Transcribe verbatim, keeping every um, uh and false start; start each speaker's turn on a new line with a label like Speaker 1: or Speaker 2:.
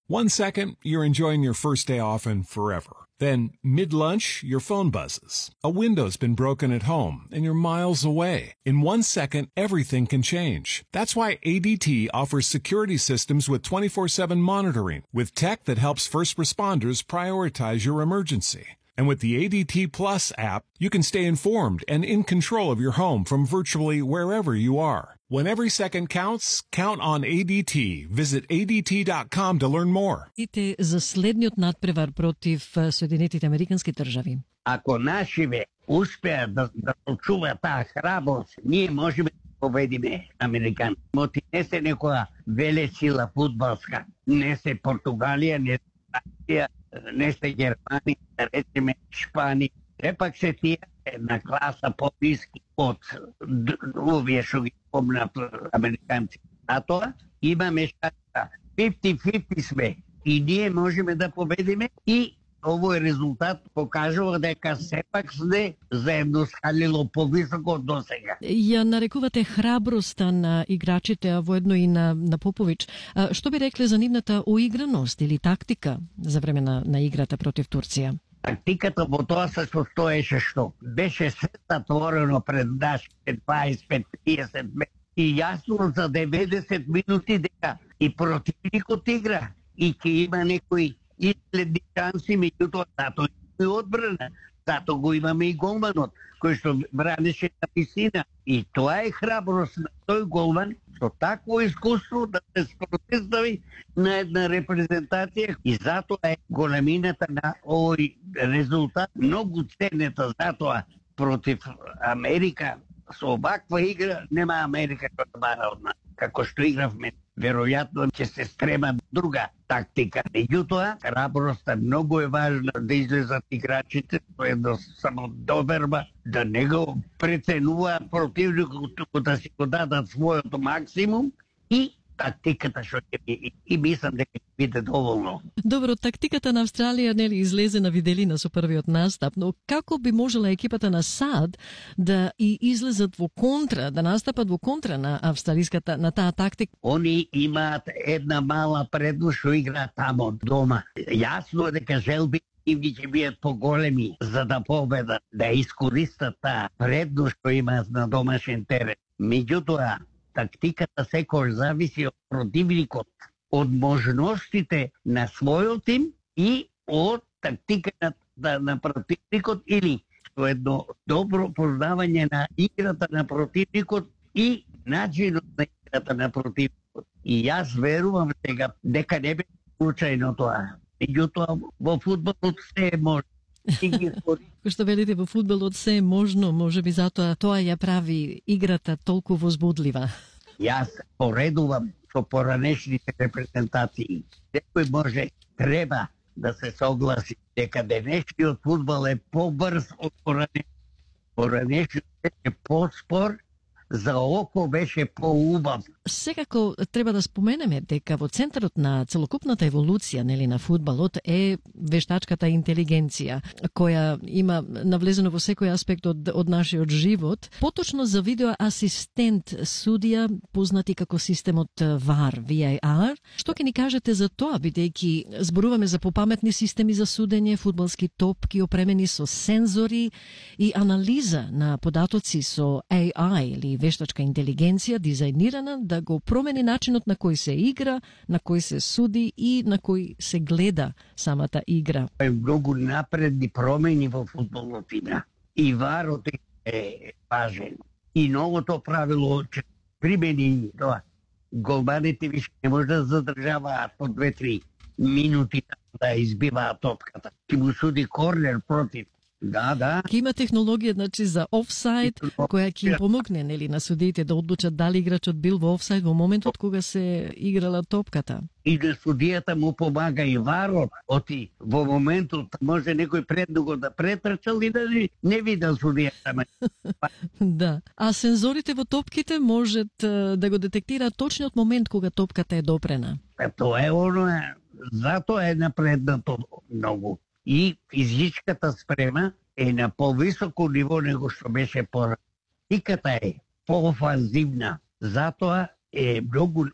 Speaker 1: One second, you're enjoying your first day off and forever. Then, mid-lunch, your phone buzzes. A window's been broken at home, and you're miles away. In one second, everything can change. That's why A D T offers security systems with twenty-four seven monitoring, with tech that helps first responders prioritize your emergency. And with the A D T Plus app, you can stay informed and in control of your home from virtually wherever you are. When every second counts, count on A D T. Visit A D T dot com to learn more.
Speaker 2: Ите за следниот надпревар против Соединетите Американски држави.
Speaker 3: Ако нашиве успеат да, да очуваат таа храброст, ние можеме да победиме американци. Моти не се некоја велесила фудбалска, не се Португалија, не се Франција, не се Германија, да речеме Шпанија. Сепак се тие една класа по-ниски од овие што ги спомнат американци. А тоа имаме шанса. петдесет на петдесет сме и ние можеме да победиме и овој резултат покажува дека сепак сме заедно скалило повисоко од досега.
Speaker 2: Ја нарекувате храброста на играчите, а воедно и на, на Попович. А, што би рекле за нивната уиграност или тактика за време на, на играта против Турција?
Speaker 3: Тактиката во тоа се состоеше што беше се затворено пред нашите дваесет пет триесет метри и јасно за деветдесет минути дека и противникот игра и ќе има некои изгледни шанси, меѓутоа затоа и одбрана, затоа го имаме и голманот кој што бранеше на висина и тоа е храброст на тој голман со такво искуство да се спротивстави на една репрезентација и затоа е големината на овој резултат многу ценета, затоа против Америка со оваква игра нема Америка што да бара од нас. Како што игравме, веројатно ќе се стрема друга тактика. Меѓутоа, храброста многу е важна да излезат играчите со едно само доверба, да не го преценуваат противникот, туку да си го дадат својот максимум и тактиката што ќе би, и мислам дека ќе биде доволно.
Speaker 2: Добро, тактиката на Австралија нели излезе на виделина со првиот настап, но како би можела екипата на САД да и излезат во контра, да настапат во контра на австралиската на таа тактика?
Speaker 3: Они имаат една мала предност што играат тамо дома. Јасно е дека желби им ги ќе бидат поголеми за да победат, да искористат таа предност што имаат на домашен терен. Меѓутоа, тактиката секој зависи од противникот, од можностите на својот тим и од тактиката на противникот или со едно добро познавање на играта на противникот и начинот на играта на противникот. И јас верувам сега дека не бе случајно тоа. Меѓутоа во фудбалот се е можно.
Speaker 2: Кој што велите во фудбалот се е можно, може би затоа тоа ја прави играта толку возбудлива.
Speaker 3: Јас поредувам со поранешните репрезентации. Секој може, треба да се согласи дека денешниот фудбал е побрз од поранешниот. Поранешниот е поспор, за око беше поубав.
Speaker 2: Секако треба да споменеме дека во центарот на целокупната еволуција нели на фудбалот е вештачката интелигенција, која има навлезено во секој аспект од, од нашиот живот. Поточно за видео асистент судија, познати како системот В А Р, В А Р. Што ќе ни кажете за тоа, бидејќи зборуваме за попаметни системи за судење, фудбалски топки опремени со сензори и анализа на податоци со А I или вештачка интелигенција, дизајнирана да го промени начинот на кој се игра, на кој се суди и на кој се гледа самата игра.
Speaker 3: Е многу напредни промени во фудбалот има. И варот е важен. И новото правило че примени тоа. Голманите више не може да задржаваат по две-три минути да избиваат топката. Ти му суди корнер против. Да, да.
Speaker 2: Ке има технологија значи за офсайд која ќе им помогне нели на судиите да одлучат дали играчот бил во офсайд во моментот кога се играла топката.
Speaker 3: И да судијата му помага и варот, оти во моментот може некој предуго да претрчал и да не, не видел судијата.
Speaker 2: Да. А сензорите во топките можат да го детектираат точниот момент кога топката е допрена.
Speaker 3: А тоа е оно, затоа е напреднато многу. И физичката спрема е на повисоко ниво него што беше порано. Тиката е поофанзивна, затоа е многу